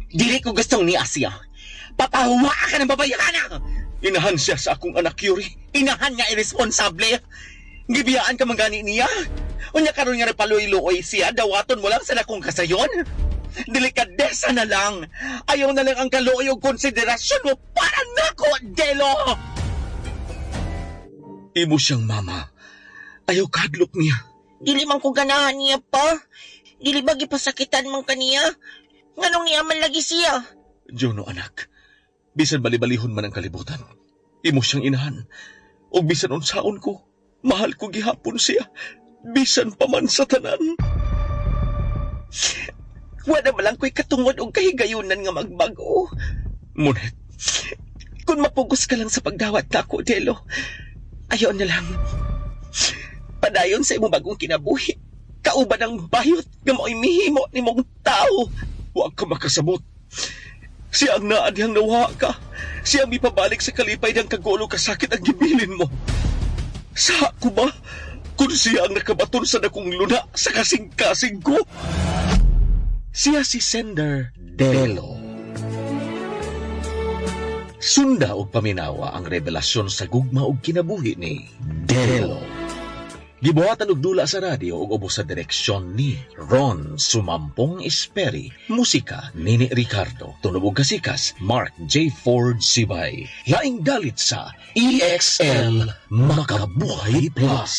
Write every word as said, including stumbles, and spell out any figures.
Dili ko gustong ni Asia. Papahuwa ka ng babayhana! Inahan siya sa akong anak, Yuri. Inahan nga irresponsable. Gibiyaan ka man gani niya. Unya karon nga nagpaluoy-luoy siya, dawaton mo lang sa dakong kasayon. Delikadesa na lang. Ayaw na lang ang kaluoy og konsiderasyon mo para nako, Delo! Imo siyang mama. Ayaw kahadlok niya. Dili man ko ganahan niya pa. Dili ba gipasakitan man kaniya? Nganong niya man lagi siya? Jono, anak. Bisan bali-balihon man ang kalibutan. Imo siyang inahan. Og bisan unsaon ko, mahal ko gihapon siya. Bisan pa man sa tanan. Wala man lang ko'y katungod og kahigayunan nga magbago. Monet, Kung mapugos ka lang sa pagdawat nako, Delo, ayaw na lang. Padayon sa imong bagong kinabuhi. Kauban ang bayot nga mao'y mihimo nimong tao. wa ka makasabot. Siya ang naa dihang nawala ka. Siya ang mipabalik sa kalipay ng kagulo kasakit ang gibilin mo. Sa ko ba? Kung siya ang nakabaton sa dakong luna sa kasing-kasing ko. Siya si Sender Delo. Sunda og paminawa ang revelasyon sa gugma ug kinabuhi ni Delo. Gibuhatan og dula sa radyo ug ubos sa direksyon ni Ron Sumampong Esperi. Musika Nini Ricardo. Tunog ug kasikas Mark J. Ford Sibay. Laing dalit sa E X L Makabuhay Plus.